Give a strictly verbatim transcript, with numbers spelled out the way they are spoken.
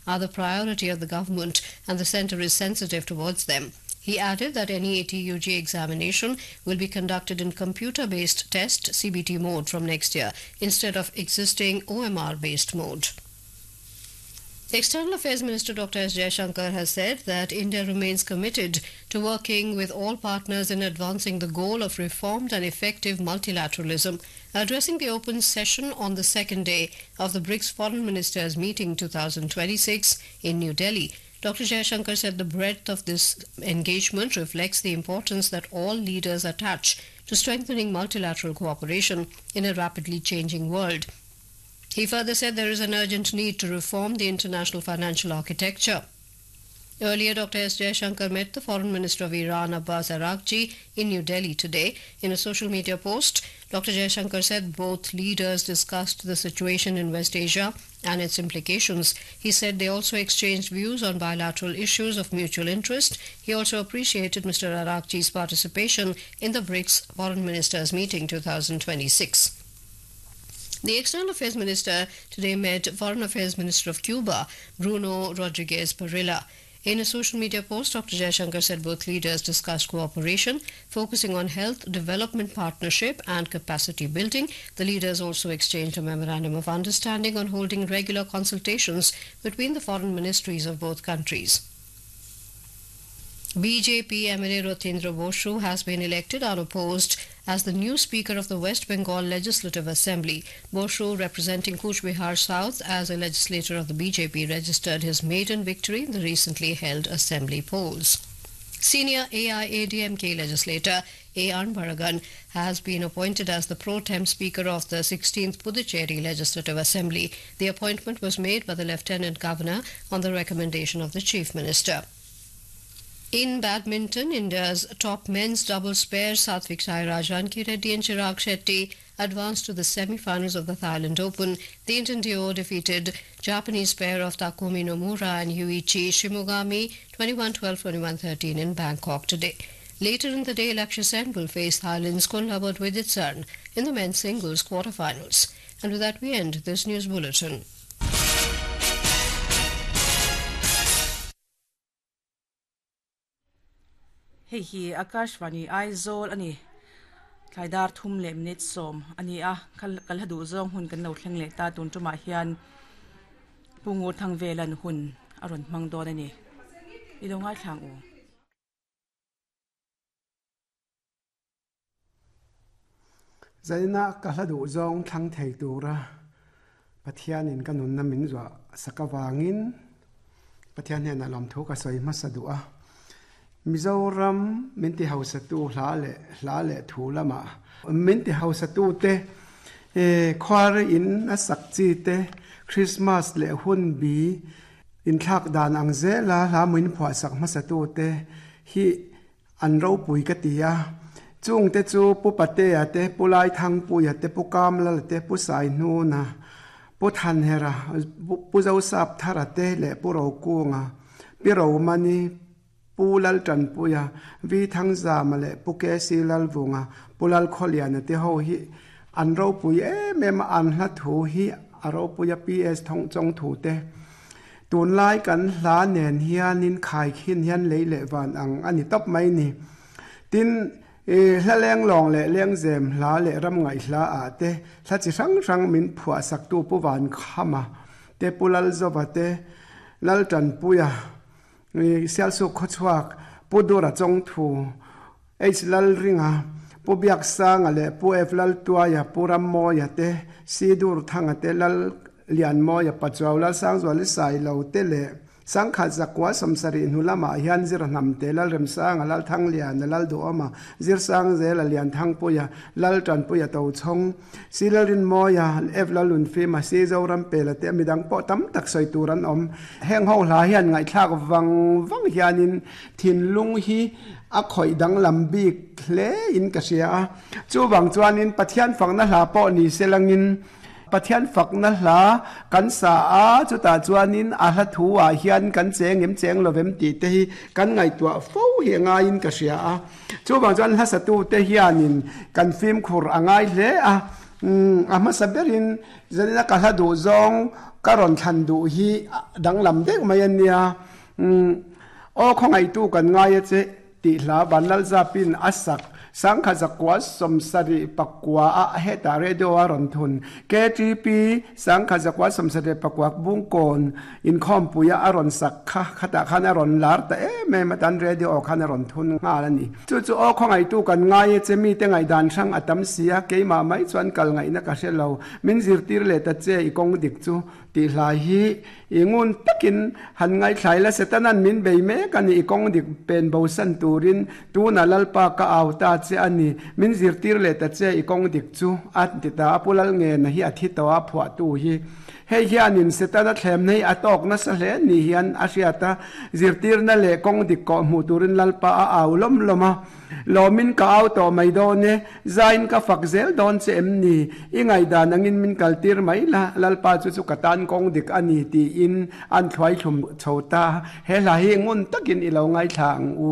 are the priority of the government and the centre is sensitive towards them. He added that NEAT U G examination will be conducted in computer-based test C B T mode from next year instead of existing O M R-based mode. External Affairs Minister Doctor S. Jaishankar has said that India remains committed to working with all partners in advancing the goal of reformed and effective multilateralism. Addressing the open session on the second day of the BRICS Foreign Ministers Meeting two thousand twenty-six in New Delhi, Doctor Jaishankar said the breadth of this engagement reflects the importance that all leaders attach to strengthening multilateral cooperation in a rapidly changing world. He further said there is an urgent need to reform the international financial architecture. Earlier, Doctor S. Jaishankar met the Foreign Minister of Iran, Abbas Araghchi, in New Delhi today. In a social media post, Doctor Jaishankar said both leaders discussed the situation in West Asia and its implications. He said they also exchanged views on bilateral issues of mutual interest. He also appreciated Mister Araghchi's participation in the BRICS Foreign Ministers Meeting two thousand twenty-six. The External Affairs Minister today met Foreign Affairs Minister of Cuba, Bruno Rodriguez Parrilla. In a social media post, Doctor Jaishankar said both leaders discussed cooperation, focusing on health, development partnership and capacity building. The leaders also exchanged a memorandum of understanding on holding regular consultations between the foreign ministries of both countries. B J P M L A Rathindra Boshu has been elected unopposed as the new Speaker of the West Bengal Legislative Assembly. Boshu, representing Cooch Behar South as a legislator of the B J P, registered his maiden victory in the recently held assembly polls. Senior A I A D M K legislator A. Anbaragan has been appointed as the pro tem Speaker of the sixteenth Puducherry Legislative Assembly. The appointment was made by the Lieutenant Governor on the recommendation of the Chief Minister. In badminton, India's top men's doubles pair Satwik Sairaj Rankireddy and Chirag Shetty advanced to the semi-finals of the Thailand Open. The Indian duo defeated Japanese pair of Takumi Nomura and Yuichi Shimogami twenty-one twelve, twenty-one thirteen in Bangkok today. Later in the day, Lakshya Sen will face Thailand's Kunlavut Vitidsarn in the men's singles quarterfinals. And with that, we end this news bulletin. Hei hi Akashvani Aizawl ani thlaidar thum leh minute sawm ani a kal hadu zawng hun kan lo thleng leh ta tun tumah hian pungur thang velan hun a rawn hmang dawn ani i lo ngai thlang u. Zaina ka hladu zawng thlang thei tura Pathianin ka nun na min zua sakawangin Pathian hian a lawm thu ka sawi hmasa duh a. Mizoram minti hausatu hla le hla le thu lama minti hausatu te e khwar in a sakchi te Christmas le hun bi in thak dan ang zela hla min phwa sak hmasatu te hi an ro pui ka tia chung te chu pu pate a te pu lai thang pu ya te pu kam la te pu sai nu na pu than hera pu zo sap thara te le pu ro ku nga pi ro mani pu lal tran puya vi thang za ma le pu ke si lal vunga pu lal kholian te ho hi an ro pui em em an hla thu hi a ro puya ps thong chong thu te tun lai kan hla nen hianin khai khin hian lei le van ang ani top mai ni tin e hla leng long le leng zem hla le ram ngai hla a te hla chi rang rang min phua sak tu pu van khama te pu lal zova te lal tran puya sial su khochuak pu dura chong thu h lal ringa pu biak sanga le pu f lal tuaya pu ram moya te si dur thanga te lal lian moya pachaw lal sang zwa le sai lo te le sang kha zakwa samsari hnulama hian zir nam te lal rem sang lal thang lian lal do ama zir sang zel lian thang puya lal tran puya to chong si lal rin moya f lal lun fi ma si zo ram pe la te midang po tam tak soi turan om heng ho hla hian ngai thlak wang wang hianin thin lung hi a khoi dang lam bik hle in ka sia chu wang chuanin Pathian fangna hla po ni selangin Pathian fakna hla kan sa a chuta chuanin a hla thu a hian kan cheng em cheng lovem ti te hi kan ngai tua fo hi ngai in ka sia a chu bang chuan hla satu te hianin kan fim khur angai hle a a ma saberin zanina ka hla du zawng Ka rawn thlan duh hi danglam deuh mai a nia. Umm aw khawngaihtu kan ngai a che tih hla Vanlalzapin a sak Sangkha zakua sawmsarih pakua a hetah radio a rawn thun. KTP Sangkha zakua sawmsarih pakua Bungkawn inkhawmpuia a rawn sak kha khatah khan a rawn lar ta em em a tan radio aw khan a rawn thun nghal a ni. Chu chu aw khawngaihtu kan ngai e che mite ngaihdan hrang a tam si a, keimah mai chuan kal ngaihna ka hre lo. Min zirtir leh ta che i kawng dik chu tih hlai hi i ngun takin han ngaithlai la, Setanan min bei mek a ni, i kawng dik pen bosan turin tuna Lalpa ka au ta che a ni, min zirtir leh ta che i kawng dik chu a ti ta a, Pu Lalngena hi a thi tawh a, phuahtu hi hei hianin Setana thlemna hi a tawk nasa hle ni hian a hriat a, zirtirna leh kawng dik kawh hmuh turin Lalpa a au lawm lawm a. Lawmin ka au tawh mai dawn e, zain ka fak zel dawn che em ni? I ngaihdan angin min kaltir mai la, Lalpa chu chu ka tan kawng dik a ni tiin an thluai thlum chho ta. He hla hi ngun takin i lo ngaithla ang u.